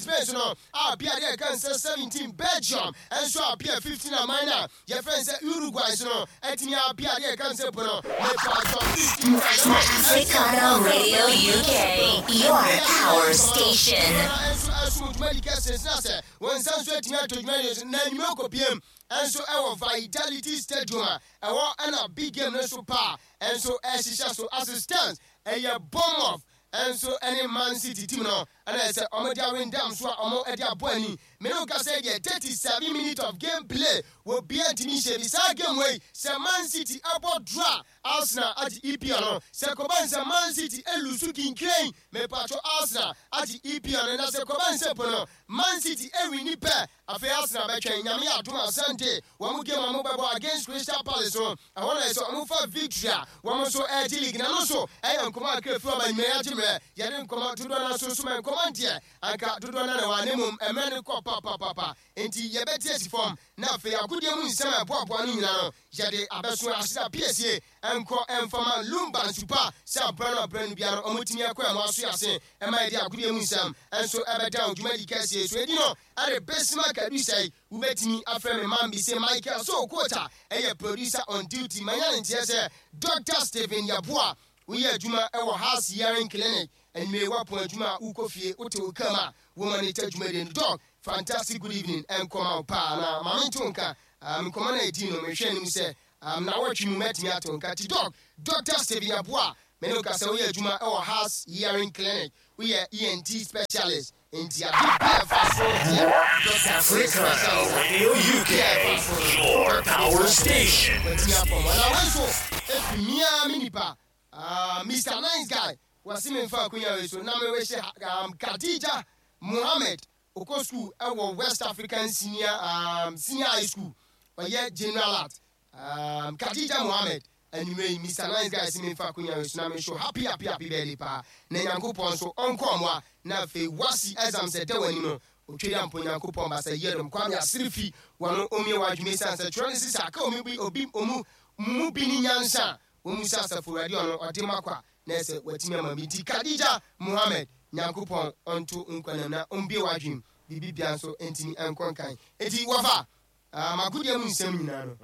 Spain so no apia deɛ ɛka nsɛ 17, Belgium nso apia 15, aman no a yɛfrɛ no sɛ Uruguay so no atumi apia deɛ ɛka nsɛ po no mepatɔ 15 times. Africana Radio UK, your power station. Nso ɛsom dwumadi kɛse sena sɛ wɔn nsa nso atumi atɔ dwumadi so na nnwuma kɔpiem nso ɛwɔ Vitality Stadium a ɛwɔ ɛna big game no so paa nso ɛhyehyɛ so assistance ɛyɛ Bournemouth nso ɛne Man City team no ɛna ɛsɛ ɔmo de awendam so a ɔmo ɛde abɔ ani. Mene wo kasa deɛ, 37 minutes of game play wɔ bia ntumi nhyɛ bi. Saa game wei, sɛ Man City ɛbɔ draw, Arsenal agye EPL no. Sɛ kɔba nsɛ Man City e lose kinkren, mepatwo, Arsenal agye EPL no. Na sɛ kɔba nsɛ po no Man City e win pɛ, afei Arsenal bɛtwɛn Nyame yɛ adom a Sunday wɔn game a wɔbɛbɔ against Crystal Palace no, ɛhɔ na ɛsɛ wɔn fa victory a wɔn nso ɛregye league. Na no nso ɛyɛ nkɔmɔ akra fi ɔba nyinaa yɛagye mmerɛ yɛde nkɔmɔ dodoɔ no nso so ma nkɔmɔ ndeɛ anka dodoɔ no na wɔ ne mom mmerɛ no kɔ papapapa, nti yɛbɛte asi fam na afei agodie mu nsɛm a ɛboaboa no nyinaa no yɛde abɛso ahyeda piesie nkɔ mfama Lumba nsupa sɛ abrɛ no abrɛ no biara no ɔmotumi ɛkɔ ɛmo aso ase ɛma yɛde agodie mu nsɛm nso ɛbɛda wo dwumadi kɛseɛ so. Ɛdi no ɛde Bismarck Adusɛi, wobɛtumi afrɛ me man bi sɛ Michael so coach a ɛyɛ producer on duty. Manya ne nteɛ sɛ Dr Stephen Yaboa, woyɛ adwuma ɛwɔ House Hearing Clinic. Anwummerɛ woapɔn adwuma a wokɔ fie, wote wo kam a wo monitor dwumadie no. Doc, fantastic good evening ɛnkɔma wo paa na ma mento nka nkɔmmɔ no a ɛdii no mehwɛ anim sɛ na wɔtwe mu mɛtumi ato nka ti Doc, Dr Stephen Yaboa, mene wo ka sɛ woyɛ adwuma ɛwɔ House Hearing Clinic, woyɛ ENT specialist, nti ade bia ɛfa so deɛ doctor Africana Radio UK, your power station. Watumi apɔm na wei nso ɛfiri mia me nipa Mr Nice Guy, wɔse memfa akonya wei so na mewehye Khadija Mohammed, okɔ school ɛwɔ West African Senior High School, ɔyɛ general art. Khadija Mohammed, anwummerɛ yi Mr Nice Guy se memfa akonya wei so na menhwɛ happy happy happy birthday paa na Nyankopɔn nso ɔnkɔ ɔmoa na afei wasi exam sɛ da w'anim no otweri ampo Nyankopɔn basa yɛdom Kwame asere fi wɔno ɔmie w'adwuma esiane sɛ twerɛ no sisa aka omi bi obi ɔmu mu bi ne nyansa a wɔn mu sɛ asafo Awurade ɔno ɔde ma kwa na ɛsɛ watumi ama bi. Nti Khadija Mohammed, Nyankopɔn ɔnto nkwanam na ɔmbie w'adwene, biribi bia nso ntumi nkɔ nkan. Nti wɔfa makodeɛ mu nsɛm nyinaa no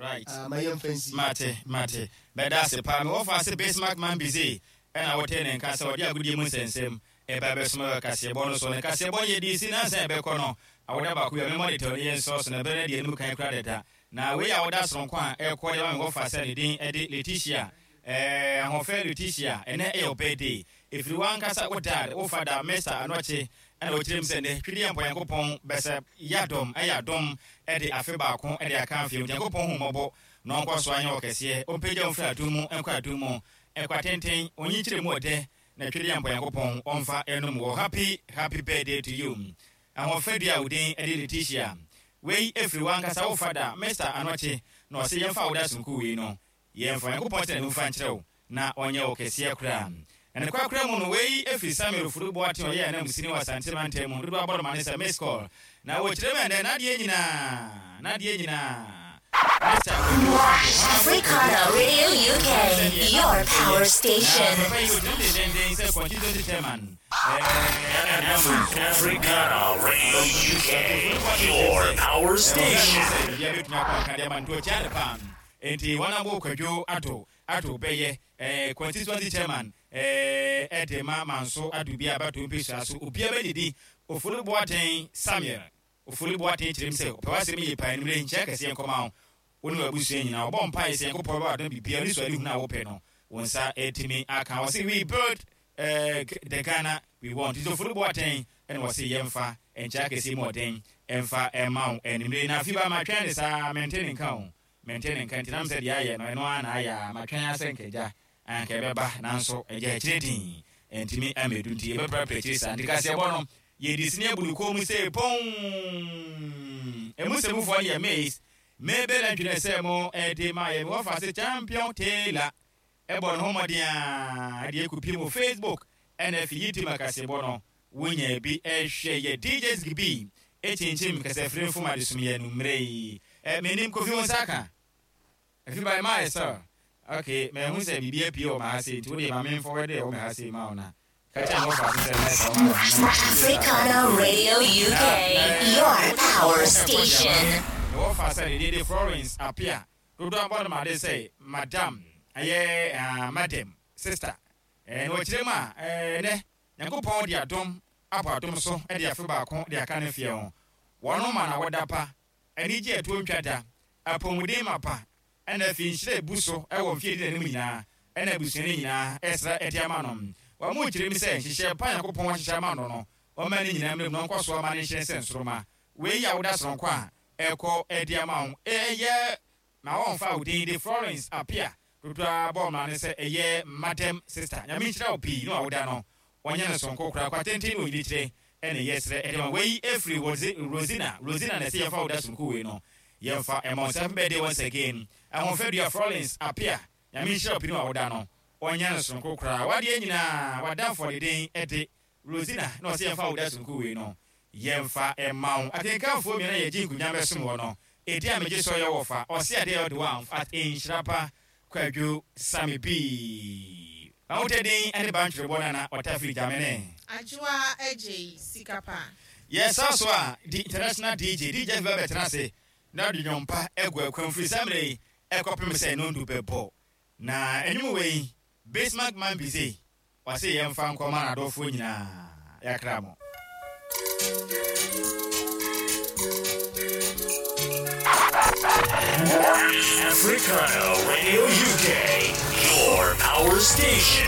ma yɛmfa nsi. Mate, mate. Mɛda ase paa. Me wɔfa ase Bismarck Mambize ɛna wotee ne nka sɛ ɔde agodie mu nsɛnsɛm ɛba bɛsoma wɔ kaseɛbɔ no so. Ne kaseɛbɔ no yɛdii si nansa ɛbɛkɔ no awoda baako bi a memmɔ ne tɛw ne yɛnsɔ so na berɛ no adi anim kan kura dada. Na wei a woda soronko a ɛkɔ de ma me wɔfa sɛ ne din de Letitia, ɛɛ, ahoɔfɛ Letitia, ɛnɛ ɛyɛ wo birthday. Ɛfiri w'ankasa wo dad, wo fada, Mr. Anɔkye, ɛna wɔkyerɛ mu sɛ nnɛ Twedeɛ Mpo Nyankopɔn bɛsɛ yɛadɔm, ɛyɛ adom de afe baako de aka afei mu. Nyankopɔn hu mmɔbɔ na ɔnkɔ so anyɛ wo kɛseɛ, ɔmpagya wo mfiri adom mu nkɔ adom mu, ɛkwa tenten, ɔnyikyerɛ mu ɔdɛ, na Twedeɛ Mpo Nyankopɔn ɔmfa ɛnom wɔ. Happy, happy birthday to you. Ahoɔfɛ dua a wo din de Letitia. Wei ɛfiri w'ankasa wo fada, Mr. Anɔkye, na ɔse yɛmfa wo da sononko wei no, yɛmfa Onyankopɔn tena ne mu mfa nkyerɛ wo na ɔnyɛ wo kɛseɛ koraa. Na ne korakora mu no, wei ɛfiri Samuel Ofori Boateng a ɔyɛ ananmusini wɔ Asante mantam mu, dodoɔ abɔ no ma ne sɛ Miss Call. Na wɔkyerɛ mu ɛnnɛ, n'adeɛ nyinaa, n'adeɛ nyinaa, Mr. Kwadwo Addo, Africana Radio UK, your power station. Na papa yi ɔgyina mu dendenden sɛ constituency chairman. Africana Radio UK, your power station. Nti wɔn abo Kwadwo Addo Addo bɛyɛ constituency chairman ɛde ma Manso Ado bi a bato mpesua so obiara bɛdidi. Ofori Boateng Samuel Ofori Boateng kyerɛ mu sɛ ɔpɛ w'asɛm yie paa. Enumere nkyia kɛseɛ nkɔma wo, wo ne w'abusua nyinaa. Ɔbɔ mpaeɛ sɛ Nyankopɔn bɛba adom biribiara ne suadehunu a wopɛ no wo nsa atumi aka. Ɔse we build the Ghana we want. Nti Ofori Boateng ɛna ɔse yɛmfa nkyia kɛseɛ mu ɔden ɛmfa ɛma wo anumere. Na afi ba matwɛn ne saa, mente ne nka o, mente ne nka. Nti nam sɛ deɛ ayɛ no ɛno ara na ayɛ a matwɛn asɛ nkagya anka ɛbɛba, nanso agya akyire din ɛntumi amɛdu, nti yɛbɛprapra akyire saa. Nti kaseɛbɔ no yɛdi sini abu ne kɔn mu sɛ pɔn. Ɛmu sɛmufoɔ no yɛ Miss Mabel Antwi sɛ mo ɛde ma yɛ. Mewɔ se Champion Taylor ɛbɔ ne ho mmɔden a ɛde ɛkɔpie mu Facebook ɛna afi YouTube akaseɛbɔ no wonya bi ɛhwɛ. Yɛ DJ Zigby ɛkyinkyim kasafiri mfom adesom yɛ no mmerɛ yi. Menim Kofi wo nsa ka afi by my sir. Okay, mahu sɛ biribi apue wɔ m'ha sei, nti wodeɛ ma memfɔwɛde ɛwɔ me ha sei ma wo na Ka kyerɛ me wɔfa ase sɛ mɛsa wo ma wo na Africana Radio UK, your power station. Ne wɔfa sɛ ne din de Florence Appiah, dodoɔ abɔ no made sɛ Madam, ɛyɛ ah, Madam, sister. Eh, na wɔkyerɛ mu a, eh, nɛ Nyankopɔn de adom abɔ adom so de afe baako de aka ne mfeɛ ho. Wɔn ma na wɔda pa, anigye a ɛtoɔ ntwa da, apɔmuden mapa, ɛna afei nhyira a ɛbu so wɔ mfeɛ a ɛdi n'anim nyinaa, ɛna abusua no nyinaa ɛsrɛ de ama no. Wɔn kyerɛ mu sɛ nhyehyɛɛ pa a Nyankopɔn ahyehyɛ ama no no, ɔmma ne nyinaa mmra mu na ɔnkɔ so ama no nhyerɛn sɛ nsoromma. Wei yɛ awoda sononko a ɛkɔ de ama wo. Ɛyɛ ma wɔmfa wo din de Florence Appiah dodoɔ ara bɔ mmara no sɛ ɛyɛ Madam Sister. Nyame nhyira wo pii ne w'awoda no ɔnyɛ no sononko koraa. Kwatenten ne onyinikyerɛ ɛna yɛsrɛ de ma. Wei ɛfiri Rosina, Rosina na ɛsɛ yɛmfa awoda sononko wei no yɛmfa ɛma wo. Nti happy birthday once again Ahofadua Florence Appiah. Nyame nhyira wo pii ne w'awoda no ɔnyɛ no sononko koraa. W'adeɛ nyinaa w'adamfo ɔde den de Rosina na ɔsɛ yɛmfa awoda sononko wei no yɛmfa mma wo. Akenkanfoɔ mmienu a yɛgye nkonwa bɛsom wɔ no, edin a megye so yɛ wɔfa, ɔse adeɛ a ɔde wɔ amf at Nhyira pa Kwadwo Sammy B. M'ahotɛ din ne Bantwerebɔ Nana Ɔtafiri Gyamene. Adwoa Adjei Sika Pa. Yɛsa so a, di International DJ, DJ Afi bɛbɛtena ase na ɔde nnwom pa agu akwan firi saa mmerɛ yi kɔpem sɛ nnɔndu bɛbɔ. Na nnwom wei, Bismarck Mambize Ɔse yɛmfa nkɔma n'adɔfoɔ nyinaa, yɛakra mo. Africana Radio UK, your power station.